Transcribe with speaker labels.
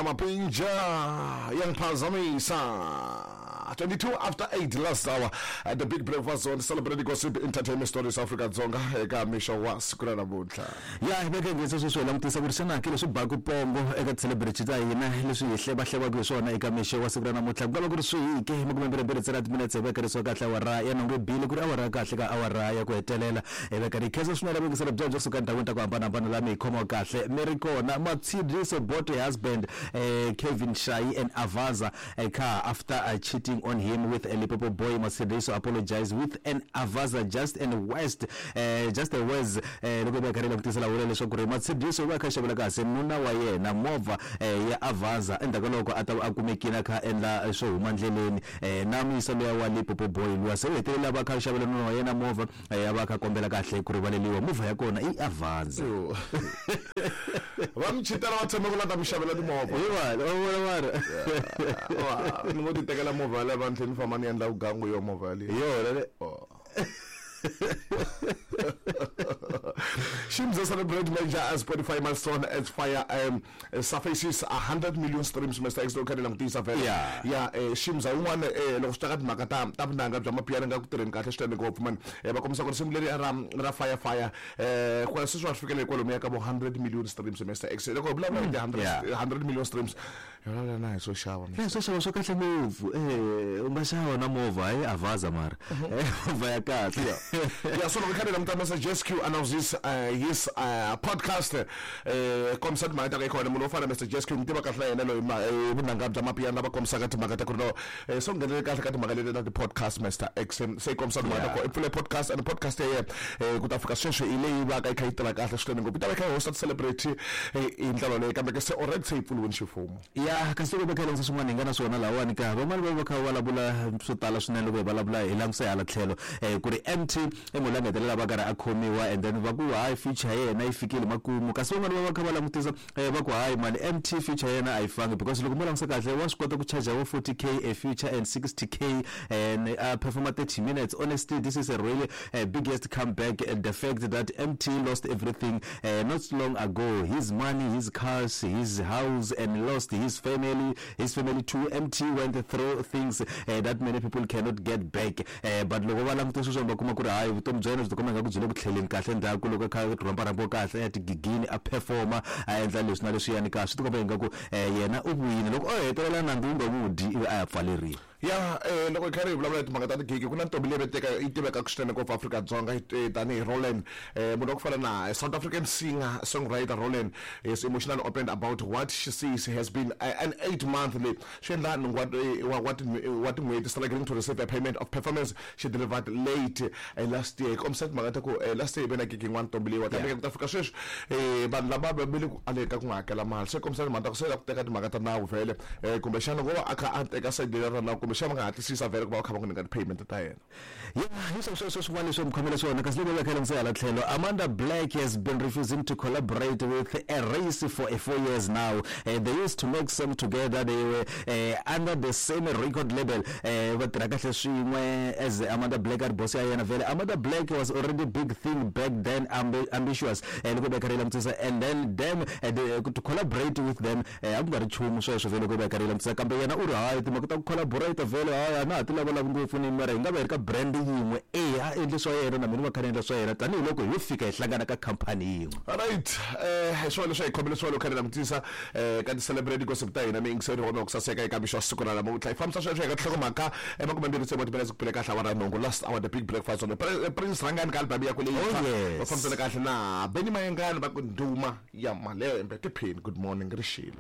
Speaker 1: Mapinja yangiphazamisa 22 after 8 last hour at the big breakfast on celebrating gossip entertainment stories Afrika Dzonga eka mixo wa siku ra namuntlha.
Speaker 2: Ya hi veke ngetse sweswi hi langutisa ku ri xana ke leswi baku pongo eka ti-celebrity ta hina leswi hi hlevahlevaka hi swona eka mixo wa siku ra namuntlha ku nga va ku ri swihi ke makumembirhimbirhi ntsena timinetse hi veka leswi kahle awara ya nhungu bile ku ri awara ya kahle ka awara ya ku hetelela hi veka ri khensa swinene vuyingiselo bya byo suka endhawini ta ku hambanahambana laha mi hi khomiwa kahle mi ri kona. Matshidiso bought a husband Kevin Shayi and Avaza a car after cheating on him with a Limpopo boy. Matshidiso apologized with an Avaza just and west just a words loko va karhi langutisa la vula leswaku ri Matshidiso va kha xavela kahle nuna wa yena movha ya Avaza endzhaku ka loko a ta va a kumekile a kha a endla swo huma ndleleni na muyisa luya wa Limpopo boy luya se u hetelela va kha xavela nuna wa yena movha a va kha kombela kahle ku rivaleliwa movha ya kona i Avanza.
Speaker 1: Va mi chitela va tshemba ku la ta mi xavela timovha.
Speaker 2: Hi va va vona
Speaker 1: mara ni ngo ti tekela movha yaleyo va ni tlhela ni famba ni endla vugangu yo movha yaleyo.
Speaker 2: Hi yona le.
Speaker 1: Shimza celebrate major Spotify milestone as Fire surfaces 100 million streams Mr. X loko kha ni langutisa vhele. Ya Shimza yin'wana loko swi ta ka timhaka ta vunanga bya mapiano nga ku tirheni kahle swinene ngopfu mani. Va kombisa ku risimu leri ra Fire Fire kwa sweswi va fikelele kwalomuya ka vo 100 million streams Mr. X. Loko hi vulavula hi ti 100 million streams hi vulavula na hi swo xava.
Speaker 2: Ya swo xava swo kahle ngopfu u nga xava na movha hayi Avaza mara movha ya kahle.
Speaker 1: Ya so loko hi kha hi languta Mr. JSQ announces his podcast kombisa timhaka ta ka kona munhu wo fana na Mr. JSQ ni tiva kahle na yena loyi vunanga bya mapiano lava kombisaka timhaka ta ku ri no so nghenelele kahle ka timhaka leti ta ti-podcast Mr. X se yi kombisa timhaka ta ku i pfule podcast and podcast ya yena ku ta fika sweswi hi leyi va ka yi kha yi tirha kahle swinene ngopfu yi ta va yi kha yi hosta ti-celebrity hi ndlela leyi kambe ke se already se yi pfuriwile ximfumo.
Speaker 2: Ya kasi loko va kha langutisa swin'wana hi nga na swona lahawani ka van'wani va va kha va vulavula swo tala swinene loko hi vulavula hi langutisa hi hala tlhelo ku ri MT i munhu loyi a nga hetelela va karhi a khomiwa and then va ku hayi future ya yena yi fikile makumu kasi van'wani va va kha va langutisa va ku hayi mani MT future ya yena a yi fangi because loko mo langutisa kahle wa swi kota ku charge vo 40K a future and 60K and a performa 30 minutes. Honestly, this is a really biggest comeback, and the fact that MT lost everything not long ago, his money, his cars, his house, and lost his family, his family too. MT went through things that many people cannot get back. But loko va langute sweswiwani va kuma ku ri hayi vutomi bya yena byi tikomba ingaku byi le ku tlheleni kahle ndzhaku loko a kha a rhambarhambiwa kahle a ya tigigini a performa a endla leswi na leswiyani ka swi tikomba ingaku yena u vuyile loko o hetelela nandzu wu nga n'wi dyi ivi a ya pfaleriwa.
Speaker 1: Ya loko hi karhi hi vulavula hi timhaka ta tigigi ku na ntombi leyi veteka yi tivekaka swinene ngopfu Afrika-Dzonga tanihi Roland munhu wa ku fana na South African singer songwriter Roland is emotionally opened about what she says has been an 8 month leyi swi endla nhungu wa tin'hweti struggling to receive a payment of performance she delivered late last year. Yi kombisa timhaka ta ku last year yi ve na gigi yin'wana ntombi leyiwa kambe ku ta fika sweswi vanhu lava va ve le ku aleni ka ku n'wi hakela mali se kombisa timhaka ta ku se la ku teka timhaka ta nawu vhele kumbexana vo va a kha a teka side leri ra nawu kumbexana va nga hatlisisa vhele ku va va kha va n'wi nyika ti-payment ta yena.
Speaker 2: Ya hi swo sweswo swin'wana leswi mi khomele swona kasi loko va kha langutisa hala tlhelo Amanda Black has been refusing to collaborate with a race for a 4 years now. They used to make song together. They were under the same record label. Va tirha kahle swin'we as Amanda Black a ri boss ya yena vhele. Amanda Black was already big thing back then, ambitious loko va karhi langutisa and then them to collaborate with them a ku nga ri nchumu sweswo vhele loko va karhi langutisa kambe yena u ri hayi timhaka ta ku collaborate vhele hayi a na ha ti lavalavi ngopfu ni mara hi nga va hi ri ka brand yin'we e a endli swa yena na mina va kha ni endla swa yena tanihiloko hi yo fika hi hlangana ka khampani yin'we.
Speaker 1: Right, hi swona leswi hi khomele swona loko kha ni langutisa ka ti-celebrity gossip ta hina mi yingiseri wona ku saseka eka mixo wa siku ra namuntlha hi fambisa sweswo hi ka tinhlokomhaka emakumembirhi tsevu wa timinetse ku pfule kahle awara nhungu last hour the big breakfast on Prince Rhangani ka album yakwe leyi va fambisana kahle na Benny Mayengani va ku ndhuma ya malembe tiphini. Good morning rixile.